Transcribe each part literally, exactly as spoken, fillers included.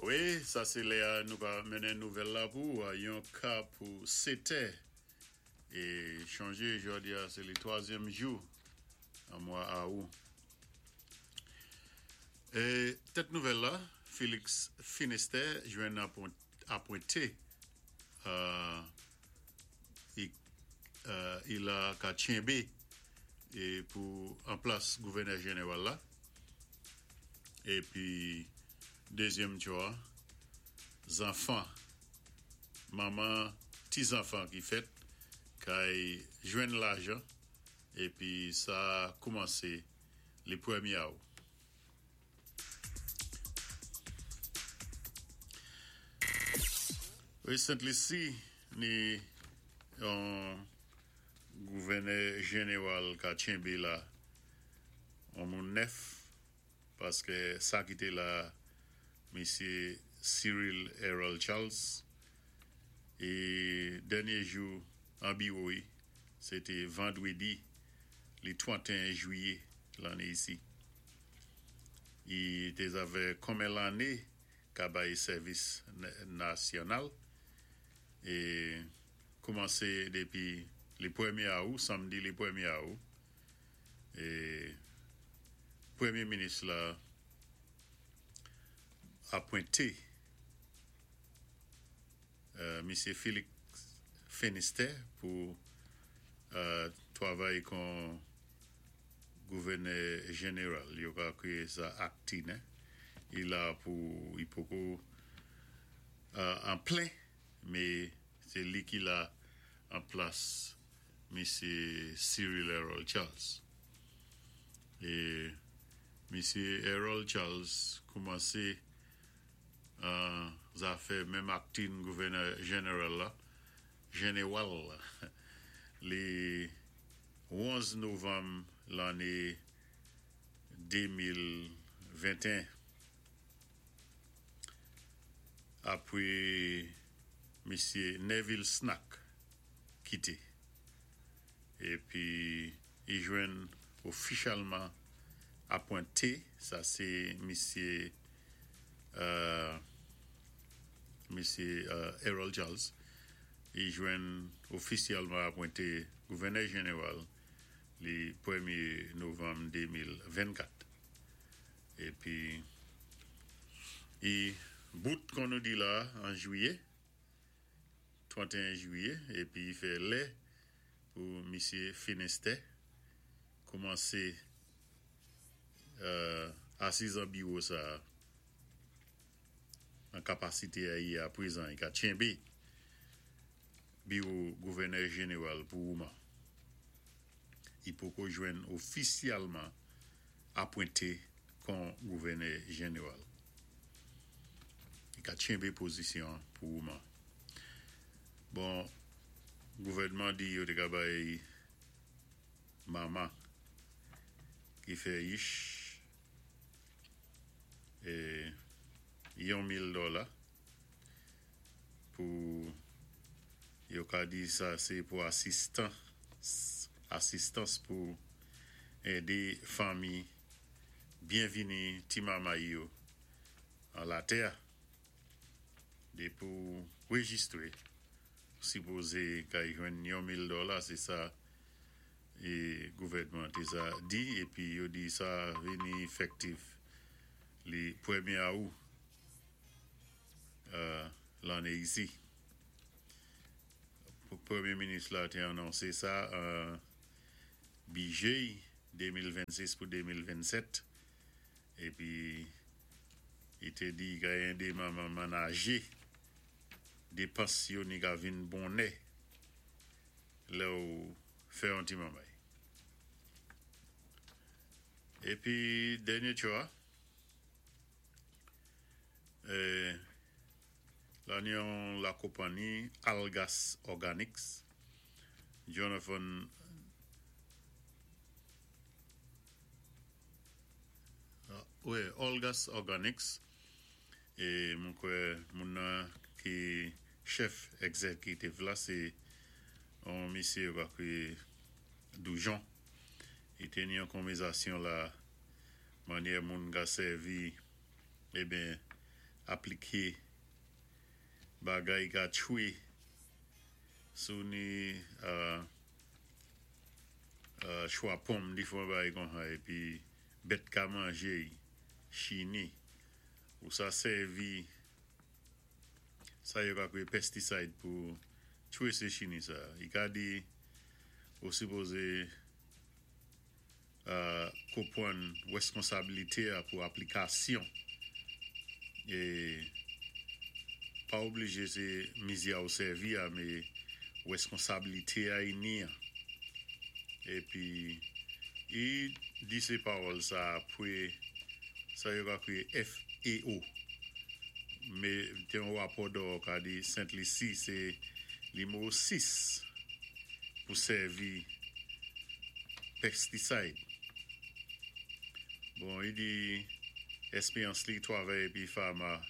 Wi, sa sé lè-a nou ka mennen nouvèl la pou ou, yon ka pou sétè é chonjé jòdi-a sé li twazyèm jou an mwa awou. É tèt nouvèl la, Félix Finistère jwenn apwenté euh, i, euh, i la ka tchenbé é pou an plas gouvènè jénéwal la. Épi dézyèm tcho, zanfan, manman, ti zanfan ki fèt, kay jwenn lajan, épi sa koumansé li pwémyé awou. Wi, Sent Lisi ni yon gouvènè jénéwal ka tchenbé la an moun nèf paské sa ki té la misyé Cyril Harold Charles é dènyé jou an biwo sé té vandwédi li twantéen jwiyé lanné isi. I té zavè konmen lanné ka bay sèvis nasyonal é koumansé dépi li pwémyé awou, sanmdi li pwémyé awou é pwémyé minis la apwenté euh, misyé Félix Finistère pou euh, twavay kon gouvènè jénéral. Yo ka kwiyé sa acting, hein? I la pou i poko euh, an plen, mé sé li ki la an plas misyé Cyril Harold Charles. É misyé Harold Charles koumansé an zafè menm acting gouvènè jénéral la, jénéwal la, li onz novanm lanné démil ventéen apwé misyé Neville Snack kité. Épi i jwenn ofisyèlman apwenté, sa sé misyé euh, misyé euh, Harold Charles, i jwenn ofisyèlman apwenté gouvènè jénéwal li pwémyé novanm démil vennkat. Épi i bout kon nou di la an jwiyé, twantéen jwiyé, épi i fè lè pou misyé Finistère koumansé euh, asiz an biwo sa an kapasité a i a pwézan, i ka tchenbé biwo gouvènè jénéwal pou mouman. I poko jwenn ofisyèlman apwenté kon gouvènè jénéwal. I ka tchenbé pozisyon pou mouman. Bon, gouvèdman di yo té ka bay manman ki fè yich é yon mil dola pou yo ka di sa sé pou asistan asistans pou édé fanmi byenvini ti manmay yo an latè. Dépi ou wéjistwé sipozé ka jwenn yon mil dola, sé sa é gouvèdman té sa di épi yo di sa vini éfektif li pwémyé awou euh, lanné isi. Pwémyé minis la té anonsé sa an bidjé démil vennsis pou démil vennsèt épi i té di ka édé manman manajé dépans yo ni ka vin bonnè lè ou fè yon ti manmay. Épi dènyé tcho a, euh, la ni yon la konpanni Algas Organics, Jonathan wi, Algas Organics é mwen kwè moun nan ki chèf egzékitif la sé yon misyé yo ka kwiyé Doujon. I té ni yon konvèzasyon la mannyè moun ka sèvi eben Apliké bagay ka tchwé sou ni euh, euh, chwa pòm difwan bagay konsa épi bèt ka manjé chini ou sa sèvi sa yo ka kwéyé pesticide pou tchwé sé chini sa. I ka di ou sipozé euh, konpwann wèskonsabilité a pou aplikasyon é pa oblijé sé mizi a ou sèvi a mé wèskonsabilité a i ni an. Épi i di sé pawòl sa apwé sa yo ka kwéyé F A O mé té yon wapò dò ka di Sent Lisi sé nimewo sis pou sèvi pesticide. Bon, i di èspéyans li twavay épi farmer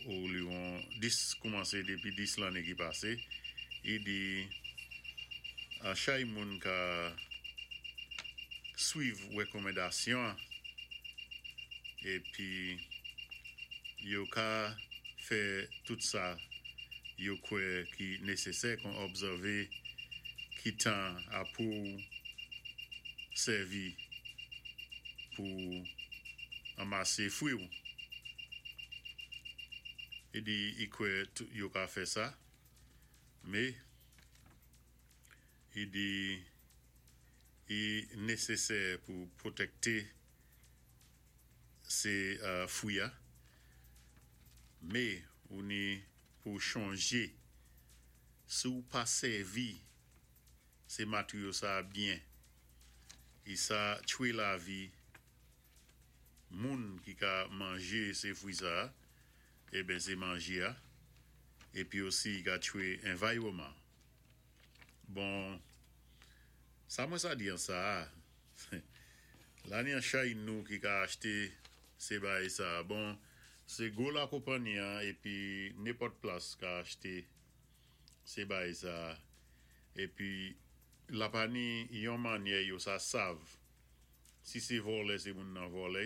ou li yon dis koumansé dépi dis lanné ki pasé, i di a chay moun ka swiv wékonmandasyon épi yo ka fè tout sa yo kwè ki nésésè kon obsèvé ki tan a pou sèvi pou anmasé fwi ou. I di i kwè yo ka fè sa, mé i di i nésésè pou pwotèkté sé euh, fwi a, mé ou ni pou chanjé si ou pa sèvi sé materyo sa byen i sa tchwé lavi moun ki ka manjé sé fwi sa eben sé manjé a épi osi i ka tchwé anviwonman. Bon, sa mwen sa di an sa la ni an chay nou ki ka achté sé bagay sa. Bon, sé gwo la konpanyi an épi nenpòt plas ka achté sé bagay sa épi la pa ni yon mannyè yo sa sav si sé vòlè sé moun nan vòlè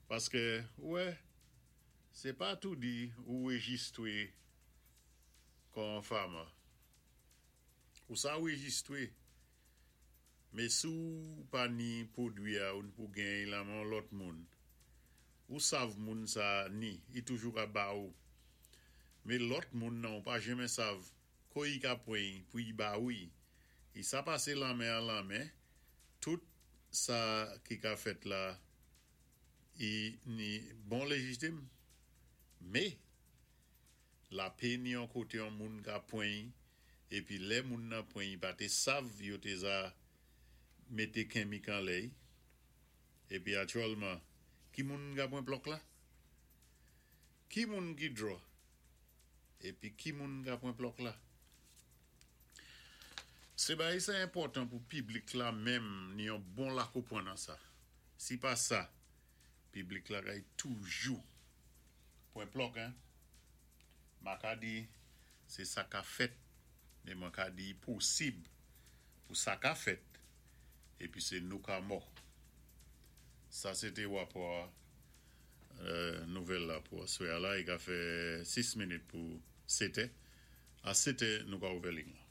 paské wè sé pa tou di ou wéjistwé kon farmer ou sa wéjistwé mé si ou pa ni pwodwi a ou pou gen lan men lòt moun ou sav moun sa ni i toujou ka ba ou mé lòt moun nan ou pa janmen sav ko i ka pwan pou i ba ou i sa pasé lan men an lan men tout sa ki ka fèt la i ni bon léjitim mé la pé ni yon koté yon moun ka pwan épi lè moun nan pwan i pa té sav yo té za mété kenmik anlè épi aktyèlman ki moun ka pwan plòk la ki moun ki draw épi ki moun ka pwan plòk la. Sé bagay sa enpòtan pou piblik la menm ni yon bon la konpwann nan sa. Si pa sa, piblik la kay toujou pwan plòk hein. Ma ka di sé sa ka fèt, mé mwen ka di posib pou sa ka fèt épi sé nou ka mò. Sa sé té wapò euh, nouvèl la pou aswè a la, i ka fè sis minit pou sétè. A sétè nou ka ouvè liy la.